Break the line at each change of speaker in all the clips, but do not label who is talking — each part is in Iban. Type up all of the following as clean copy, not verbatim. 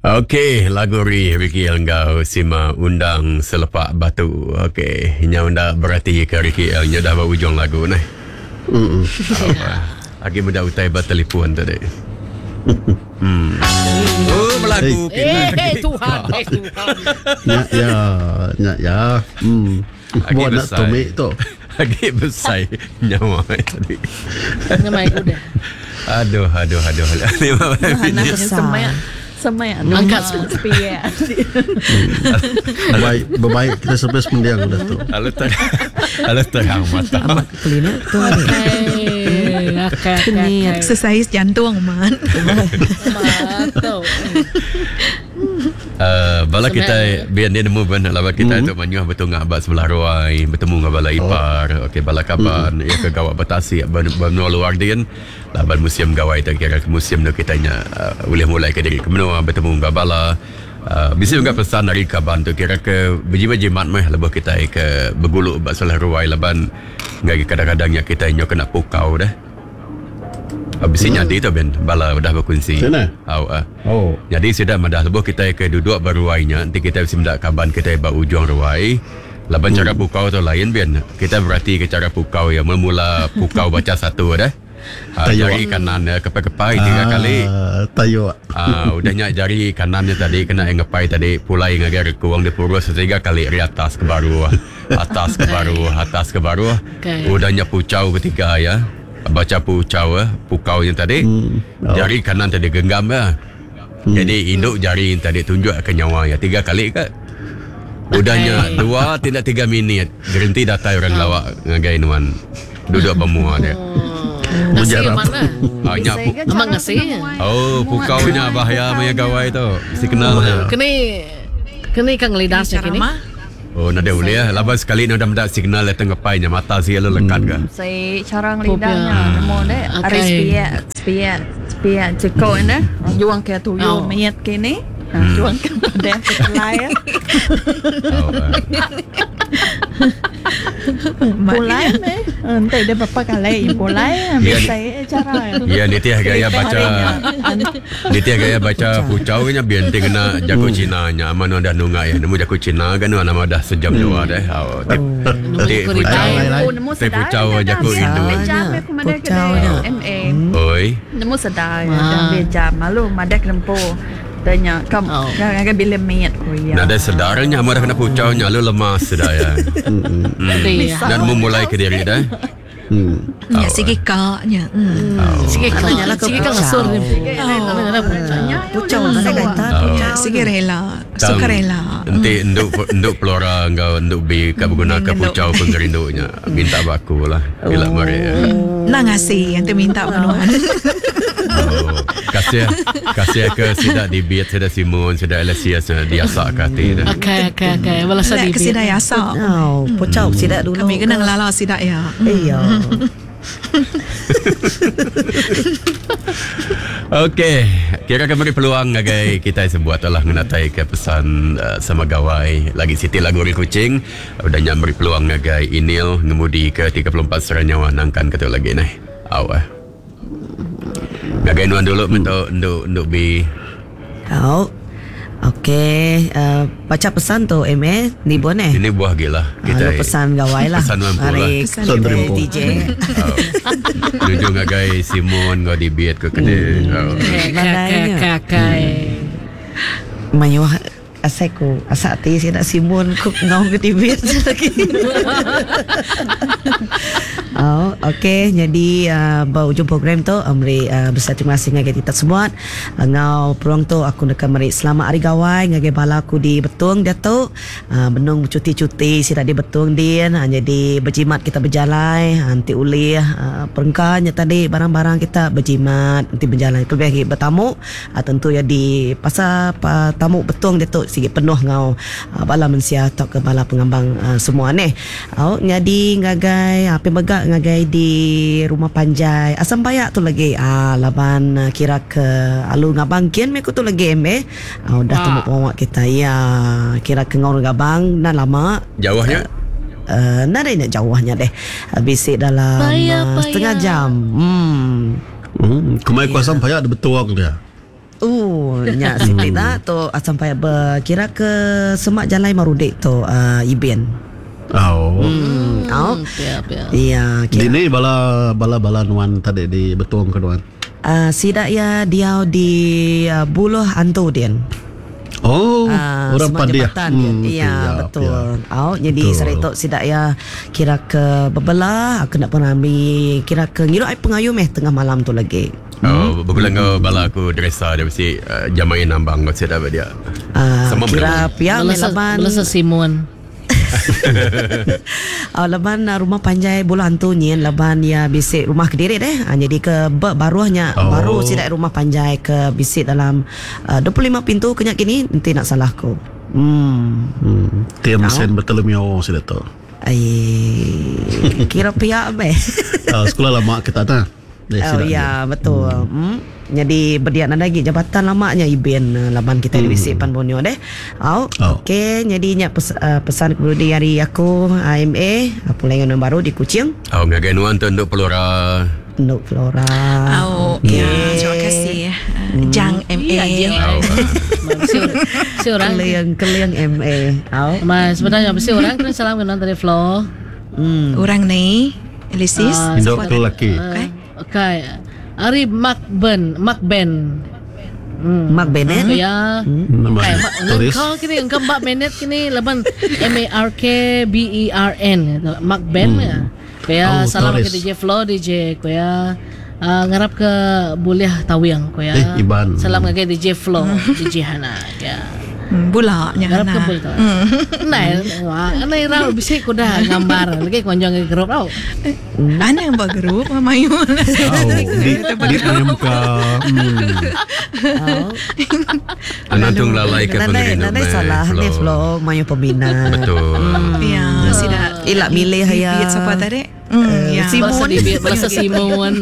Okey, lagu ri Ricky L enggau Sima Undang Selepak Batu. Okey, nyau enda berati ke Ricky L nya dah ba ujung lagu neh. Mm. Agi meda utai ba telefon tadi. Hmm. Oh, belagu
kita. Eh, Tuhan, eh Tuhan.
Nya ya, nya ya. Hmm.
Agi
Buat nak
besai.
tumik tu.
Agi besai nyawa tadi.
Ngemai ku deh.
Aduh, aduh, aduh. Lima minit.
Semak semak
Angkat
sepiak.
Baik, berbaik kita sampai semendiang udah tu.
Lalu terang, lalu terang mata.
Amat kelina tu ni.
Eh, okay, okay, okay.
Exercise jantung man.
Betul.
Uh, bala kita biar dia nemu ben laban kita mm-hmm. tu manyuh betunga ba sebelah ruai betemu dengan bala oh. ipar okey bala kaban mm-hmm. ya ke gawak bertasik benua luar din laban musim gawai tu kira ke musim tu kita nya uh, boleh mulai ke diri ke menua betemu dengan bala uh, bisi juga pesan dari kaban tu kira ke berjimat-jimat meh lebuh kita ke begulu ba sebelah ruai laban ngagai kadang-kadang nya kita nyo kena pukau dah. Bisi nyadi tu ben bala udah bekunsi.
Sine.
Au ah.
Oh.
Nyadi sida madah lebuh kitai ke duduk ba ruai nya enti kitai bisi meda kaban kitai ba ujung ruai laban chara pukau tu lain ben. Kitai beratika chara pukau iya mula-mula pukau bacha satu deh. Ah, jari kanan iya kepai-kepai tiga kali.
Ah, tayuk.
Ah, udah nya jari kanan nya tadi kena iya ngepai tadi pulai ngagai rekung dipurus tiga kali ari atas ke baruh, atas ke baruh, atas ke baruh.
Okay.
Udah nya puchau ketiga iya. Bacha puchau eh, pukau nya tadi.
Oh.
Jari kanan tadi genggam ya. Jadi induk jari tadi tunjuk ke nyawa ya tiga kali ke. Udah nya dua tidak tiga minit gerenti datai orang lawak ngagai nuan duduk bermua dia.
Ngasih
Mujarab.
mana?
Ah, nya pu-
Memang ngasih.
Oh, pukau nya bahaya maya gawai tu. Mesti kenal nya.
Kini kini kang lidas nya kini.
Ceramah.
Oh, nadai ulih. Laban sekali ni udah meda signal datang ngepai nya mata si lalu lekat ke.
Si cara ngelidahnya nemu dek.
Okey.
Ari sepiak sepiak sepiak cekok nya juang ke tuyu
Oh.
mayat kini. Juang ke pedang pekelai.
Oh, ah.
Pulai meh. Ente dia berapa kali pulai
Ya.
bisa cara.
Ya nitih gaya baca Nitih gaya baca pucau nya biar nanti kena jago Cina nya aman dah nunga ya nemu jago Cina kan nuan nama dah sejam dua dah. Oh, ti ti
Nemu
pucau
aku
Nemu
ti pucau jago Indo.
Jam aku mana
Pucau nya.
MA.
Oi.
Nemu sedar jam dia jam malu madak lempu. Tanya kam
Oh.
ngagai bila mayat ku ya.
Nadai sedarnya aman dah kena pucau nya lalu lemas sudah ya.
Iya.
Dan mu mulai ke diri dah.
Hmm.
Ya sigi ka nya. Hmm.
Sikit kang
Nyala ke
sikit kang
pucau.
ngasur ni.
Pucau mana kaitan
Oh.
pucau.
Sigi rela,
Tang,
suka rela.
Enti enduk enduk pelora enggau enduk bi ka beguna ke
Enduk.
pucau pengerindunya minta baku lah. Ila mari. ya.
Nang ngasih yang minta penuhan.
Oh, kasih kasih ke sida dibit sida Simon sida Alessia sida diasak ke hati dah.
Okey okey okey. Balas
Lek
di.
ke sida yasa.
Oh, pucau sidak dulu.
Kami kena ngelala sida ya.
Iya.
Okey, kira ke beri peluang ngagai kita sebuat lah ngenatai ke pesan uh, sama gawai lagi Siti lagu Ri Kucing udah nyak beri peluang ngagai Inil ngemudi ke 34 Seranyawa nangkan ke tu lagi ni. Au eh. Ngagai nuan dulu mentok nduk nduk bi.
Oh. Okey, uh, baca pesan tu MA ni bon eh.
Ini buah gila
Kita
kita.
pesan gawai lah.
Pesan mampu lah.
Hari
Pesan
Pesan
kita
rimpu.
DJ.
Oh. Tuju ngagai Simon ngau dibit ke kene. Oh.
Okey okey okey.
Mayuh asai ku asak ti saya nak simun ku ngau ke dibit lagi. Oh, okey. Jadi uh, ba ujung program tu uh, meri uh, besar terima kasih ngagai kita semua. Uh, ngau peluang tu aku nak meri selamat hari gawai ngagai bala aku di Betung dia tu. Uh, benung cuti-cuti sida di Betung din. Uh, jadi berjimat kita berjalai uh, nanti ulih uh, perengkanya tadi barang-barang kita berjimat nanti berjalan lebih lagi bertamu uh, tentu ya di pasar pa, tamu Betung dia tu sikit penuh ngau uh, bala mensia atau ke bala pengambang uh, semua ni. Oh, jadi ngagai uh, pemegak ngagai di rumah panjai asam bayak tu lagi ah laban uh, kira ke alu ngabang kian me ku tu lagi me. Ah udah
Wah.
temu pawak kita ya kira ke ngau ngabang na lama
Jauhnya
Uh, nadai nak jauhnya deh. Bisik dalam
Payah,
uh, setengah
payah.
jam. Hmm.
Hmm. Kumai kuasa payak ada betuang dia.
Oh, nya siti da tu sampai kira ke semak jalai Marudi tu uh, Ibin.
Oh.
Oh.
Pia pia.
Iya, kira.
Dini bala bala bala nuan tadi di Betong ke nuan.
Sida iya diau di Buluh Antu din.
Oh,
Ah,
orang
semak
Padih.
jambatan din. Iya,
siap,
betul.
ya.
Au, jadi
Betul.
sehari tu sida iya kira ke bebela, kena pengambi kira ke ngirup ai pengayu meh tengah malam tu lagi.
Oh, bergulai enggau bala aku dresa dia mesti uh, jamain nambang enggau sida ba dia.
Ah,
Sama
kira pia meh
Belasa
laban
belasa Simon.
Laban rumah panjai Buluh Antu nyin laban iya bisi rumah kediri deh. Jadi ke ba baruhnya
Oh.
baru sida rumah panjai ke bisi dalam 25 pintu ke nya kini enti nak salah ku. Hmm.
Tim Saint Bartholomew sida tu.
Ai kira pia meh.
Sekula lama kita ta. Deh
Oh
sida
ya
dia.
betul. Hmm. Jadi bediak nadai agi jabatan lama nya Ibin laban kitai bisi pan Borneo deh. Au.
Oh.
Okey jadi nya pes, pesan keperudi ari aku AMA pulai ngena baru di Kuching.
Oh, ngagai nuan tu Enduk Pelora.
Enduk Flora.
Oh,
Okey.
ya, terima kasih. Jang MA.
Iya, je.
Oh,
Si orang.
Keliang keliang MA. Au.
Ma sebenarnya mesti orang kena salam kena dari Flo.
Orang ni, Elisis.
Induk ke lelaki.
Okay. Okay. Ari Mark Ben, Mark Ben.
Mark Bennett.
Ya.
Nama
Kai Mark
tulis.
engkau kini engkau Mark Bennett kini laban M A R K B E R N Mark Ben ya. Kuya
Oh,
salam ke
Torres.
DJ Flo DJ kuya ngarap ke boleh tawiang kuya.
Eh, Iban.
Salam ke DJ Flo DJ Hana ya.
Bula nya
Ngarap ke
Hana.
boleh tahu. Nai, wah, nai rau bisa kuda gambar lagi konjong ke grup tau.
Ana yang buat grup mayu.
Oh, di di muka.
Au.
Anak tu ngelalai ke
Nadai
pengerindu
nadai
meh,
salah ni Flo mayu peminat.
Betul.
Ya, sida.
Ilak milih ya.
Bibit siapa tadi? Ya.
Simon.
Balasa di balasa Simon.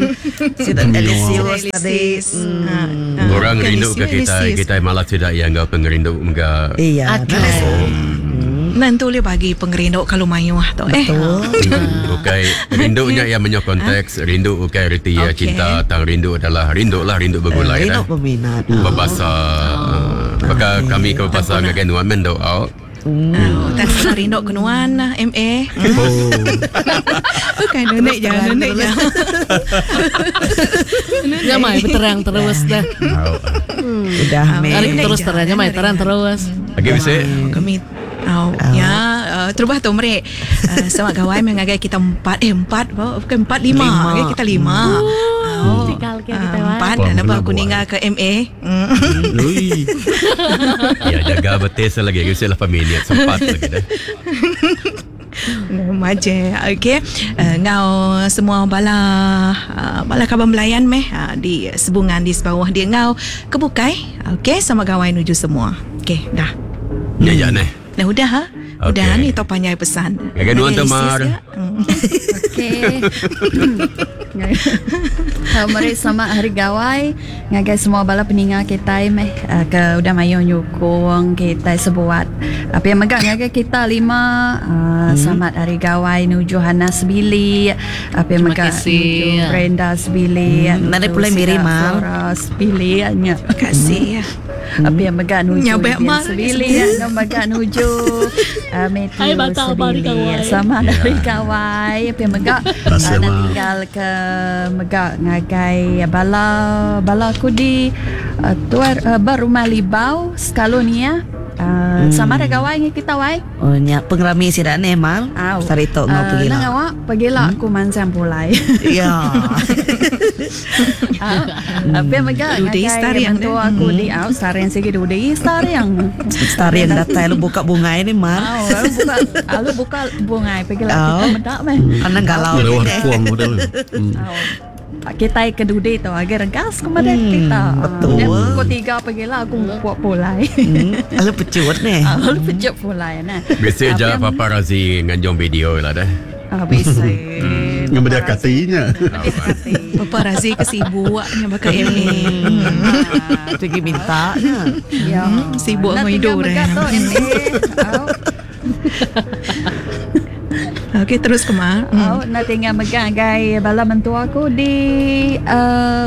Sida Alisius tadi.
Elisis.
Orang rindu ke kita, kita malah tidak yang enggau pengerindu enggak.
Iya.
Akai.
nadai salah.
Nanti boleh bagi pengerindu kalau mayu tu eh.
Betul.
Bukan rindunya yang menyok konteks, rindu bukan reti ya
Okey.
cinta, tang rindu adalah rindu lah rindu bergulai
Rindu
dah.
peminat.
Berbahasa. Maka kami ke berbahasa ngagai nuan mendo out.
Oh, tak kena rindu ke nuan lah, MA.
Oh.
Bukan nenek jangan nenek jangan.
Ya mai berterang terus dah.
Udah meh.
Ari
Nenek
terus
jangan,
terang, ya mai
nenek
terang
jangan.
terus.
Okey bisa.
Kami Oh, ya, terubah tu mereka Selamat gawai mengagai kita empat eh empat bukan empat lima,
Lima.
Okay, kita lima. Oh,
Tinggal ke kita, Wan.
empat
Wah,
dan apa
kena
aku
buat.
ninggal ke MA.
Ui.
Ya jaga betis lagi bisa 8 minit sempat lagi dah.
Maje. Okey. Ngau semua bala bala kaban belayan meh di sebungan di sebawah dia ngau kebukai. Okey, sama gawai nuju semua. Okey, dah.
Ya ya neh.
Dah udah ha? Udah
Okey.
ni tau panjai pesan.
Ngagai nuan tu,
Ngagai
Mar.
Isis, ya?
Okey. Tau meri selamat hari gawai ngagai semua bala peninga kita meh ke udah mayu nyukung kita sebuat. Apa yang megak ngagai kita lima selamat hari gawai nuju Hana Sebili. Apa yang
Terima
megak
kasih.
nuju Brenda Sebili.
Hmm, nadai
nuju
pulai miri,
Sida
Mar.
Flora Sebili nya.
Terima kasih.
Apa yang megak nuju
Nyabek
Vivian
Mar.
Sebili, yang megak nuju Matthew
Hai, batal hari
Sebili.
gawai.
Selamat
Ya.
hari gawai. Apa yang megak
Terima kasih,
nak
Mak.
tinggal ke megak ngagai bala bala aku di tuar berumah Libau sekalu ni ya. Sama ada gawai ni kita wai.
Oh nya pengerami sida ni mal.
Au.
Sari tu ngau pergi
Nang
lah.
awak pergilah aku mansang pulai.
Ya.
Apa yang megak
Dudi
ngagai
stariang
mentua aku di au stariang sigi dudi stariang.
Starian datai lu buka bunga ini mal.
Au, lalu buka lalu buka bunga pergilah
Au.
kita medak meh.
Anang galau
Lewat
ni.
kuang udah lu.
Au. Kita ke dudi tu agak regas kepada kita.
betul.
Dia pukul tiga pergilah aku buat pulai.
Lalu pecut ni.
Lalu pecut pulai nah.
Biasa je paparazzi nganjung video lah dah.
Ah, bisa.
Yang beda katinya.
Paparazzi ke sibuknya bakal MA.
Pergi minta nya.
Ya.
Sibuk
Nak
dengan
tinggal
hidup
megat
dah.
tu MA. Au.
Okey terus ke Mar.
Oh, nak tinggal megang gai bala mentua aku di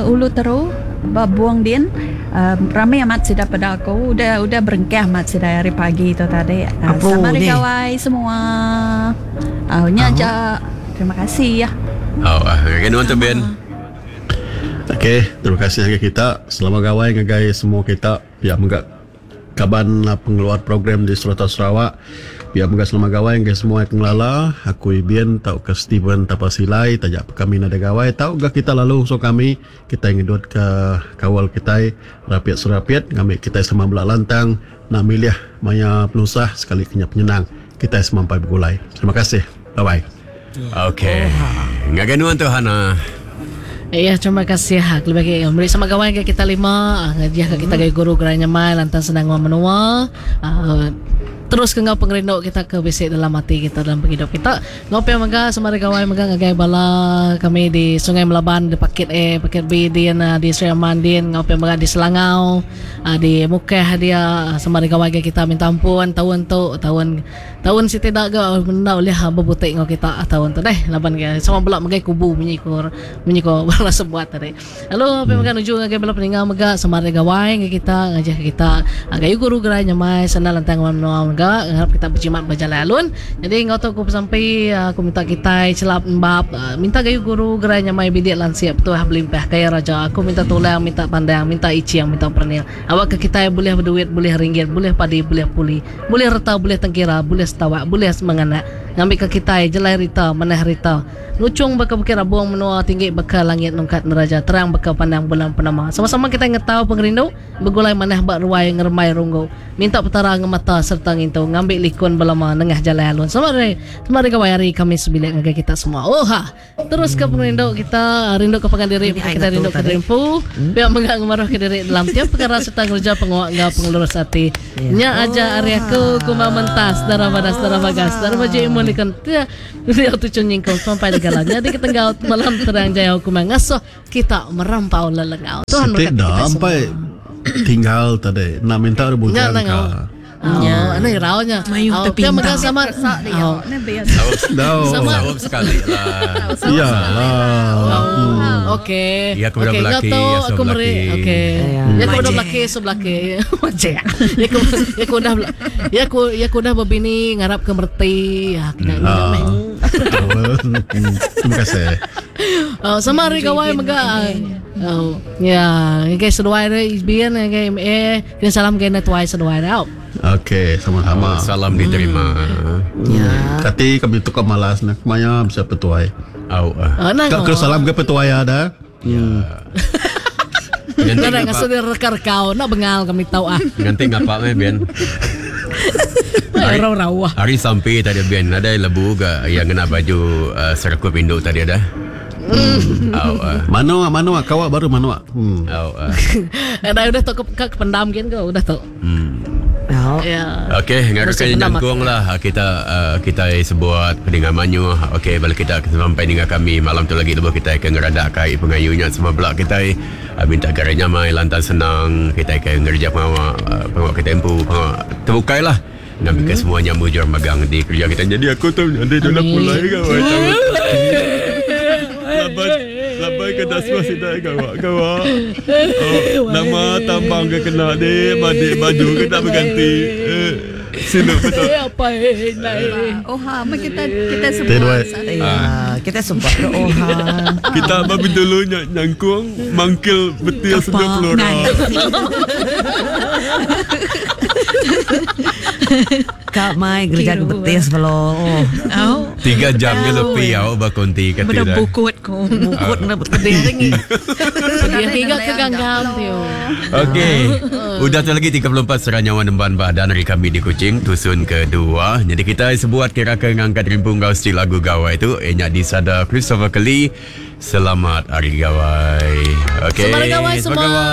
Ulu Teru ba Buong din. Rami amat sida peda aku udah udah berengkah amat sida hari pagi tu tadi. Sama hari gawai semua. Au nya aja. Terima kasih.
Au ah ngagai nuan tu Ben.
Okey, terima kasih ngagai kita. Selamat gawai ngagai semua kita pia mega kaban pengeluar program di serata Sarawak. Pia mega selamat gawai ngagai semua ke ngelala aku Ibin tauka Steven Tapa Silai taja pa kami nadai gawai tau ga kita lalu ngusung kami kitai ngedut ka kaul kitai rapit serapit ngambi kitai sama bela lantang enda milih maya penusah sekali ke nya penyenang kitai semampai begulai. Terima kasih. Bye bye.
Okey. Ngagai nuan tu Hana.
Ya, terima kasih. Kelebih agi meri sama gawai ngagai kita lima, ngajih ka kita gayu guru gerai nyamai lantang senang nguan menua. Terus ke enggau pengerindu kita ke bisi dalam ati kita dalam pengidup kita. Enggau pia mega sama ari gawai mega ngagai bala kami di Sungai Melaban di Pakit A, Pakit B din di Sri Aman din enggau pia mega di Selangau, di Mukah dia sama ari gawai ngagai kita minta ampun taun tu taun Taun siti da ga enda ulih bebuti enggau kita taun tu deh laban ke sama bela megai kubu munyi ko munyi ko bala sebuat tadi. Lalu pia mega nuju ngagai bala peninga mega sama ari gawai ngagai kita ngajih ke kita gayu guru gerai nyamai senang lantang nguan menua mega ngarap kita bejimat ba jalai alun. Nyadi enggau tu aku besampi aku minta kitai chelap embap minta gayu guru gerai nyamai bidik lansik betuah belimpah kaya raja aku minta tulang minta pandang minta iching minta perening awakka kitai bulih beduit bulih ringgit bulih padi bulih puli. Bulih reta bulih tengkira bulih setawak bulih semenganak ngambika kitai jelai rita manah rita nuchung baka bukit rabung menua tinggi baka langit nungkat neraja terang baka pandang bulan purnama sama-sama kitai ngetau pengerindu begulai manah ba ruai ngerembai runggu minta petara ngemata sereta ngintu ngambi likun belama nengah jalai alun selamat hari selamat hari gawai hari kami sebilik ngagai kita semua ooha. Terus ke pengerindu kita rindu ke pangan diri baka kita rindu ke diri empu pia mega ngemaruh ke diri dalam tiap pekara sereta ngereja pengawa enggau pengelurus ati. Nya aja ari aku Kumang Mentas Dara Badas Dara Bagas Dara Baju Imun Likun Tia Diau Tuchun Nyingkung Semampai Negala Nyadi Ketenggau Malam Terang Jayau Kumang Ngasuh Kita Merampau Lelengau. Tuhan
Siti
berkati
da
kita semua.
empai tinggal tadi enda minta
Nya
bujang
nang
ka.
Oh, anu irau nya.
Mayuh
Oh, pia
tepinta.
mega sama. Oh.
No.
Sama.
Saup sekali lah.
Ya lah.
Oh, okey.
Ya, aku udah
Okey,
belaki,
ngau tu
ya,
aku meri.
sebelaki.
Okey.
Ya.
Ya aku udah
Majek.
belaki sebelaki. Majek. Ya aku ya aku udah ya aku ya aku udah berbini ngarap ke merti. Ya, kena
Ah.
meh.
Terima kasih.
Oh, sama hari gawai mega. Oh, ya, okay, seduai re isbian okay, MA, kena salam kena tuai seduai tau.
Okey, sama-sama.
Oh, salam diterima.
Ya.
Kati kami tukar malas nak maya bisa petuai.
Au. ah.
Oh, nang.
Kak kena salam ke petuai ada.
Nganti
Nang
ngapa?
ngasuh dia rekar kau, nak bengal kami tahu ah.
Nganti ngapa meh Ben?
Rau-rau ah.
Hari sampai tadi Ben ada lebu ke yang kena baju uh, serakup induk tadi ada. Au. ah.
Mano mano kawak baru mano. Hmm.
Au. ah.
Eh, dah udah tu ke, ke, ke pendam gin ke udah tu.
Ya.
Ya.
Okey, ngaruh
Musim
ke
pendam
nyangkung lah kita uh, kita sebut pendengar manyu. Okey, balik kita sampai dengar kami malam tu lagi lebuh kita akan ngeradak kai pengayunya semua belak kita uh, minta garai nyamai lantan senang kita akan ngerja pengawak uh, pengawak kita empu pengawak terbukai lah. Ngambil ke semuanya mujur magang di kerja kita. Jadi aku tu nanti tu nak pulai ke Laban laban ke dah semua sida gawak gawak. Oh, nama tambang ke kena ni, badik baju ke tak berganti. Eh, sino betul.
Eh, apa eh, naik.
Oh ha, mak kita kita
Tidak,
semua.
wai.
Ya, kita sempat ke oha.
Kita babi dulu nyangkung mangkil betil
Kapak ngai.
Kak mai gereja ke
Kira.
betis belo. Oh,
Oh,
Tiga jam ke lebih au bakonti kata
benda
dah.
bukut ku.
bukut na betis.
Pedih ringi. Pedih hingga ke ganggam tu.
Okey. Udah tu lagi 34 serah nyawa nemban badan hari kami di Kuching tusun kedua. Jadi kita sebuat kira ke ngangkat rimpung gau stil lagu gawai tu enyak di sada Christopher Kelly. Selamat Hari Gawai. Okey.
Selamat Hari Gawai semua.
Gawai.